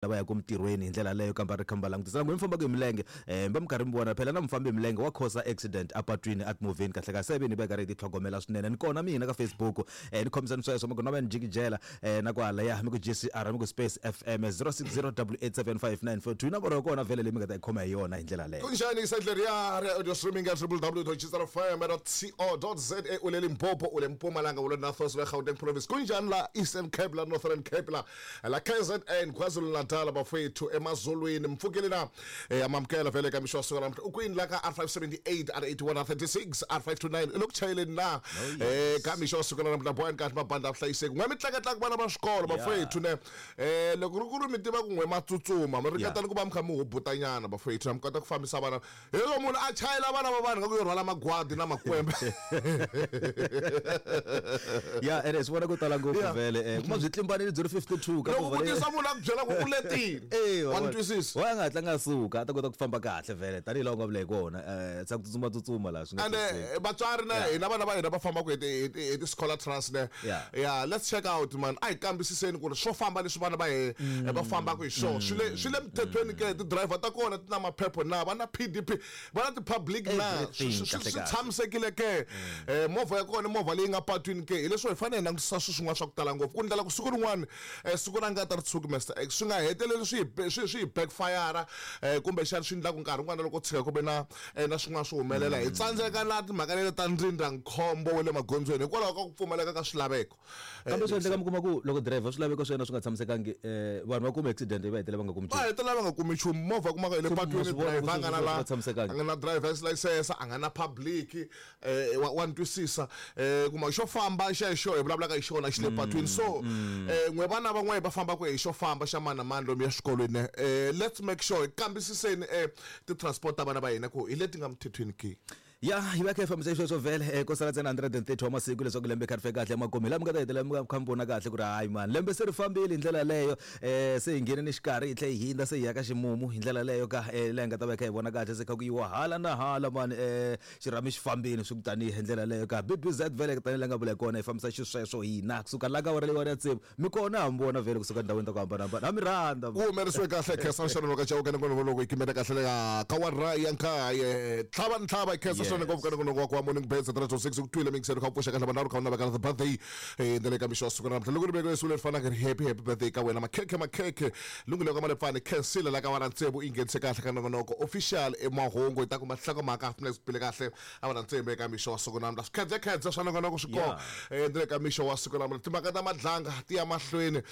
Lava yaka emitirhweni hi ndlela yaleyo kambe a ri kha mi va langutisa na n'wina mi fambaka hi milenge um mi va mi karhi mi vona phela na mufambi hi milenge wa khosa accident apatwini etimovheni kahle kahle se ve ni va hi karhi hi titlhogomela swinene ni kona mina ka Facebook um ni khomisani sweswo mi ku na va ni jikijela um na kwalaya mi ku J_C_R mi ku Space F_M 060 875 nomboro ya kona vhele leyi mi nga ta yi khoma hi yona hi ndlela leyo. Kunjani isendle riya ri audio streaming ya www.chrfm.co.za u le Limpopo u le Mpumalanga u le North West le Gauteng province kunjani la Eastern Cape la Northern Cape la la KZN KwaZulu-Natal bafowethu emazulwini mpfukile na amamukela vele ka mixo wa siku namuntlha u kwini la ka R578 R81 R36 R529 i le ku chayeleni na ka mixo wa siku namuntlha boyani kahle mabandla a vuhlayiseki n'we mi tlakatlaka vana va swikolo bafowethu ne loko ri ku ri mi tiva ku n'we ma tsutsuma mi ringetani ku va mi kha mi hubutanyana bafowethu na mi kota ku fambisa vana hi loko munhu a chayela vana va vanhu nga ku yo rhwala magwadi na makwembe. Ya ene swi vona ko tala ngopfu vhele kuma byi tlimbanile byi ri 52 ka loko vutisa munhu a ku byela ku u letile. Wa ni twisisa? Wa nga hatla nga suka a ta kota ku famba kahle vhele tanihi laha u nga vula hi kona tshika ku tsutsuma tsutsuma laha swi nga and vatswari na hina vana va hina va fambaka hi ti hi ti hi ti-scholar trust ne. Yeah, let's check out man. A hi kambisiseni ku ri swo famba leswi vana va he va fambaka hi swona swi le swi le mithethweni ke ti-driver ta kona ti na maphepha na va na P_D_P va na ti-public na Everything, swi kahle kahle. tshamisekile ke movha ya kona i movha leyi nga patwini ke hileswo hi fanele hi langutisa swilo swin'wana swa ku tala ngopfu ku ndlela ku siku rin'wana siku ra ngati ri tshuki Mister X swi nga heteleli swi hi swi hi backfire kumbexana swi endla ku nkarhi wun'wana loko tshika ku ve na na swin'wana swi humelela hi tsandzeka na timhaka leti ta ndzindzakhombo wa le magondzweni hikwalaho ka ku pfumaleka ka swilaveko. Kambe swi endleka mi kuma ku loko driver swilaveko swa yena swi nga tshamisekangi vanhu va kuma accident va hetelela va nga kumi nchumu. Va hetelela va nga kumi nchumu movha kumaka hi le patwini driver a nga na la a nga na driver's license a nga na public wa ni twisisa kuma xo famba xexo hi vulavulaka hi xona xi le patwini so n'we vana van'we va fambaka hi xo famba xa mani na mani lomu ya swikolweni let's make sure hi kambisiseni ti-transport ta vana va hina ku hi leti nga mthethweni ke. Ya yi va kha yi fambisa xisweswo vhele ko sala ntsena 130 wa masiku leswaku lembe kha ri fika kahle emakumu hi laha mi nga ta hetelela mi kha mi vona kahle ku ri hayi mani lembe se ri fambile hi ndlela yaleyo se hi nghene ni xikarhi hi tlhe hi hindza se hi ya ka ximumu hi ndlela yaleyo ka laha hi nga ta va hi kha hi vona kahle se kha ku yiwa hala na hala mani xirhami xi fambile swi ku tanihi hi ndlela yaleyo ka B_B_Z vhele tanihi laha nga vula hi kona hi fambisa xisweswo hina kusuka la ka awara leyiwani ya tsevu Mi kona ha mi vona vhele kusuka ndhawini ta ku hambanahambana. Ha mi rhandza. Ku humelerisiwe kahle khensa Shannon wa ka Chauke nongonoko loko hi kimela kahle le ka kawara ya nkaye tlhava ni tlhava khensa swinene ngopfu ka nongonoko wa ku wa morning birds 3 to 6 ku twile mingiselo kha ku pfuxa kahle vanharhu kha u naveka the birthday ndlela ka mixo wa siku ra namuntlha loko ri vekile siku leri fanaka ri happy happy birthday ka wena makhekhe makhekhe lunghilo ka malepfani khensile la ka wara tsevu i nghenise kahle ka nongonoko official emahungu hi ta kuma nhlokomhaka half minutes bile kahle a va na ntsembe eka mixo wa siku namuntlha swikhedzekhedze swa nongonoko swi kona ni le ka mixo wa siku namuntlha timhaka ta madlanga ti ya mahlweni um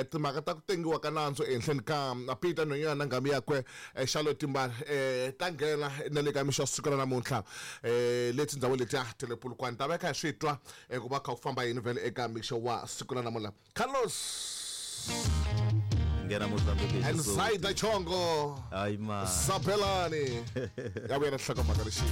timhaka ta ku tengiwa ka nandzu ehenhleni ka Peter Nonyana na nghamu yakwe Charlotte Timbali um ta nghena na le ka mixo wa siku ra namuntlha um le tindhawini letiya ta le Polokwane ta va kha hi swi twa ku va kha ku famba yini vhele eka mixo wa siku ra namuntlha Carlos Nghena Mozambique and Zaida Chongo Hayi ma Sabelani ya vuya na nhlokomhaka lexi.